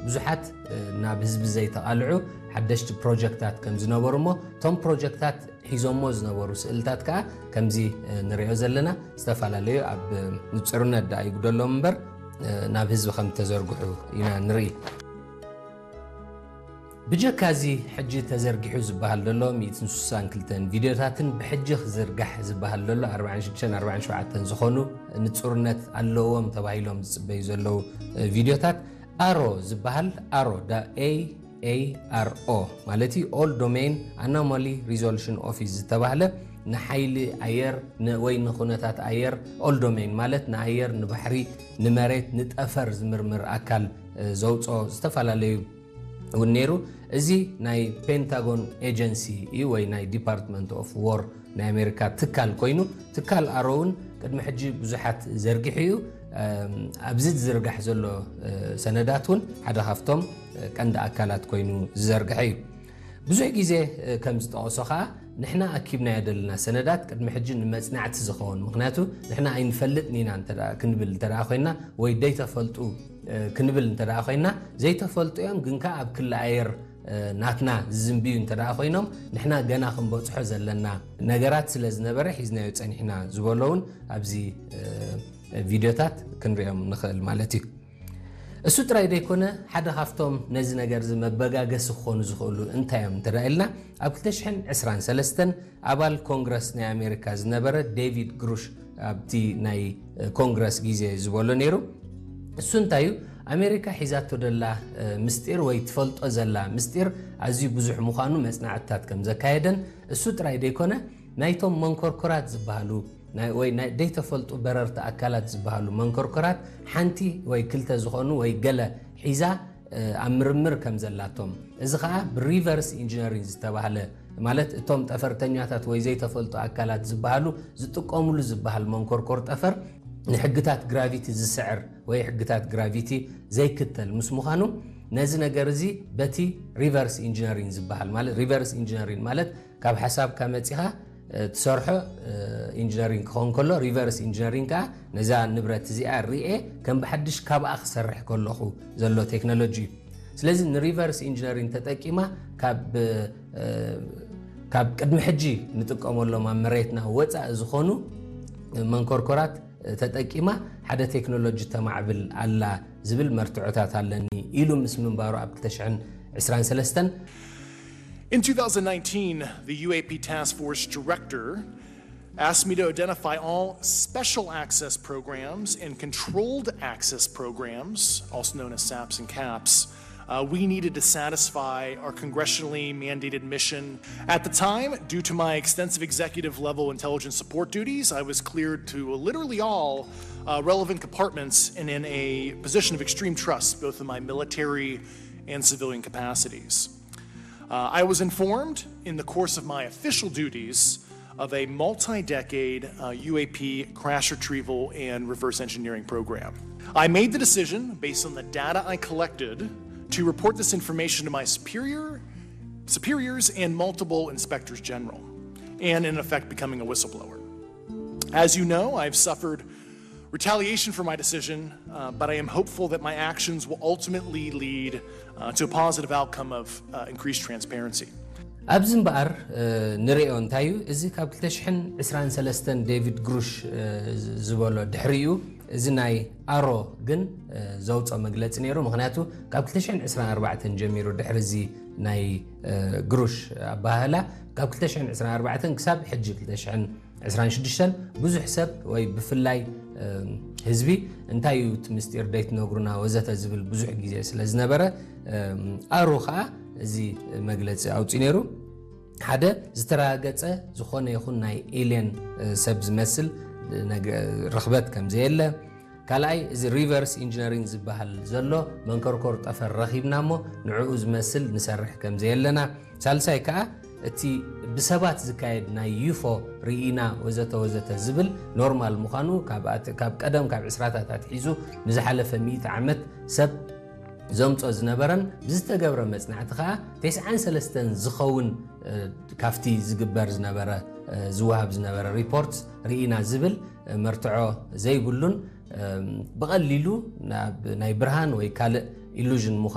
ብዙሓት ናብ ህዝቢ ዘይተቓልዑ ሓደሽቲ ፕሮጀክታት ከም ዝነበሩ እሞ እቶም ፕሮጀክታት ሒዞሞ ዝነበሩ ስእልታት ከዓ ከምዚ ንሪኦ ዘለና ዝተፈላለዩ ኣብ ንፅርነት ደኣ ይጉደሎም እምበር ናብ ህዝቢ ከም ተዘርግሑ ኢና ንርኢ። ብጀካ እዚ ሕጂ ተዘርጊሑ ዝበሃል ዘሎ ሚእትን ስሳን ክልተን ቪድዮታትን ብሕጂ ክዝርጋሕ ዝበሃል ዘሎ ኣርባዓን ሽዱሽተን ኣርባዓን ሸውዓተን ዝኾኑ ንፁርነት ኣለዎም ተባሂሎም ዝፅበዩ ዘለዉ ቪድዮታት ኣሮ ዝበሃል ኣሮ ዳ ኤ ኤ ኣር ኦ ማለት እዩ All Domain Anomaly Resolution Office ዝተባህለ ንሓይሊ ኣየር ወይ ንኩነታት ኣየር All Domain ማለት ንኣየር ንባሕሪ ንመሬት ንጠፈር ዝምርምር ኣካል ዘውፅኦ ዝተፈላለዩ እውን ነይሩ። እዚ ናይ ፔንታጎን ኤጀንሲ እዩ ወይ ናይ ዲፓርትመንት ኦፍ ዎር ናይ ኣሜሪካ ትካል ኮይኑ ትካል ኣሮ እውን ቅድሚ ሕጂ ብዙሓት ዘርጊሑ እዩ። ኣብዚ ዝዝርጋሕ ዘሎ ሰነዳት እውን ሓደ ካብቶም ቀንዲ ኣካላት ኮይኑ ዝዘርግሐ እዩ። ብዙሕ ግዜ ከም ዝጠቐሶ ከዓ ንሕና ኣኪብናዮ ዘለና ሰነዳት ቅድሚ ሕጂ ንመፅናዕቲ ዝኸውን ምክንያቱ ንሕና ኣይንፈልጥን ኢና እንተ ክንብል እንተ ኮይና ወይ ደይተፈልጡ ክንብል እንተ ኮይና ዘይተፈልጡ እዮም ግን ከዓ ኣብ ክሊ ኣየር ናትና ዝዝንብዩ እንተ ኮይኖም ንሕና ገና ክንበፅሖ ዘለና ነገራት ስለ ዝነበረ ሒዝናዮ ፀኒሕና ዝበሎ እውን ኣብዚ ቪድዮታት ክንሪኦም ንኽእል ማለት እዩ። እሱ ጥራይ ዘይኮነ ሓደ ካብቶም ነዚ ነገር እዚ መበጋገሲ ክኾኑ ዝኽእሉ እንታይ እዮም እንተ ኢልና ኣብ ክልተ ሽሕን ዕስራን ሰለስተን ኣባል ኮንግረስ ናይ ኣሜሪካ ዝነበረ ዴቪድ ግሩሽ ኣብቲ ናይ ኮንግረስ ግዜ ዝበሎ ነይሩ። እሱ እንታይ እዩ ኣሜሪካ ሒዛቶ ደላ ምስጢር ወይ ትፈልጦ ዘላ ምስጢር ኣዝዩ ብዙሕ ምዃኑ መፅናዕትታት ከም ዘካየደን እሱ ጥራይ ዘይኮነ ናይቶም መንኮርኮራት ዝበሃሉ ወይ ናይ ዘይተፈልጡ በረርቲ ኣካላት ዝበሃሉ መንኮርኮራት ሓንቲ ወይ ክልተ ዝኾኑ ወይ ገለ ሒዛ ኣብ ምርምር ከም ዘላቶም እዚ ከዓ ብሪቨርስ ኢንጂነሪንግ ዝተባህለ ማለት እቶም ጠፈርተኛታት ወይ ዘይተፈልጡ ኣካላት ዝበሃሉ ዝጥቀሙሉ ዝበሃል መንኮርኮር ጠፈር ንሕግታት ግራቪቲ ዝስዕር ወይ ሕግታት ግራቪቲ ዘይክተል ምስ ምዃኑ ነዚ ነገር እዚ በቲ ሪቨርስ ኢንጂነሪንግ ዝበሃል ማለት ሪቨርስ ኢንጂነሪንግ ማለት ካብ ሓሳብካ መፂኻ ትሰርሖ ኢንጂነሪንግ ክኸውን ከሎ ሪቨርስ ኢንጂነሪንግ ከዓ ነዛ ንብረት እዚኣ ርኤ ከም ብሓድሽ ካብኣ ክሰርሕ ከለኹ ዘሎ ቴክኖሎጂ እዩ። ስለዚ ንሪቨርስ ኢንጂነሪንግ ተጠቂማ ካብ ካብ ቅድሚ ሕጂ ንጥቀመሎም ኣብ መሬትና ወፃኢ ዝኾኑ መንኮርኮራት ተጠቂማ ሓደ ቴክኖሎጂ ተማዕብል ኣላ ዝብል መርትዖታት ኣለኒ ኢሉ ምስ ምንባሩ ኣብ ክልተ ሽሕን ዕስራን ሰለስተን In two thousand nineteen, the U A P task force director asked me to identify all special access programs and controlled access programs, also known as SAPs and CAPs, uh, we needed to satisfy our congressionally mandated mission. At the time, due to my extensive executive level intelligence support duties, I was cleared to literally all uh, relevant compartments and in a position of extreme trust, both in my military and civilian capacities. Uh, I was informed in the course of my official duties of a multi decade uh, U A P crash retrieval and reverse engineering program. I made the decision based on the data I collected to report this information to my superior, superiors and multiple inspectors general, and in effect becoming a whistleblower. As you know, I've suffered retaliation for my decision, uh, but I am hopeful that my actions will ultimately lead uh, to a positive outcome of uh, increased transparency. ኣብዚ እምበኣር ንሪኦ እንታይ እዩ እዚ ካብ ክልተ ሽሕን ዕስራን ሰለስተን ዴቪድ ግሩሽ ዝበሎ ድሕሪኡ እዚ ናይ ኣሮ ግን ዘውፅኦ መግለፂ ነይሩ ምክንያቱ ካብ ክልተ ሽሕን ዕስራን ኣርባዕተን ጀሚሩ ድሕሪ እዚ ናይ ግሩሽ ኣባህላ ካብ ክልተ ሽሕን ዕስራን ኣርባዕተን ክሳብ ሕጂ ክልተ ሽሕን ዕስራን ሽዱሽተን ብዙሕ ሰብ ወይ ብፍላይ ህዝቢ እንታይ እዩ እቲ ምስጢር ደይትነግሩና ወዘተ ዝብል ብዙሕ ግዜ ስለ ዝነበረ ኣሩ ከዓ እዚ መግለፂ ኣውፅኡ ነይሩ። ሓደ ዝተረጋገፀ ዝኾነ ይኹን ናይ ኤልየን ሰብ ዝመስል ርኽበት ከም ዘየለ፣ ካልኣይ እዚ ሪቨርስ ኢንጂነሪንግ ዝበሃል ዘሎ መንኮርኮር ጠፈር ረኺብና እሞ ንዕኡ ዝመስል ንሰርሕ ከም ዘየለና፣ ሳልሳይ ከዓ እቲ ብሰባት ዝካየድ ናይ ዩፎ ርኢና ወዘተ ወዘተ ዝብል ኖርማል ምዃኑ ካብ ቀደም ካብ ዕስራታት ኣትሒዙ ንዝሓለፈ ሚእቲ ዓመት ሰብ ዘምጾ ዝነበረን ብዝተገብረ መጽናዕቲ ከዓ ተስዓን ሰለስተን ዝኸውን ካብቲ ዝግበር ዝነበረ ዝወሃብ ዝነበረ ሪፖርት ርኢና ዝብል መርትዖ ዘይብሉን ብቐሊሉ ናይ ብርሃን ወይ ካልእ ኢሉዥን ምዃኑ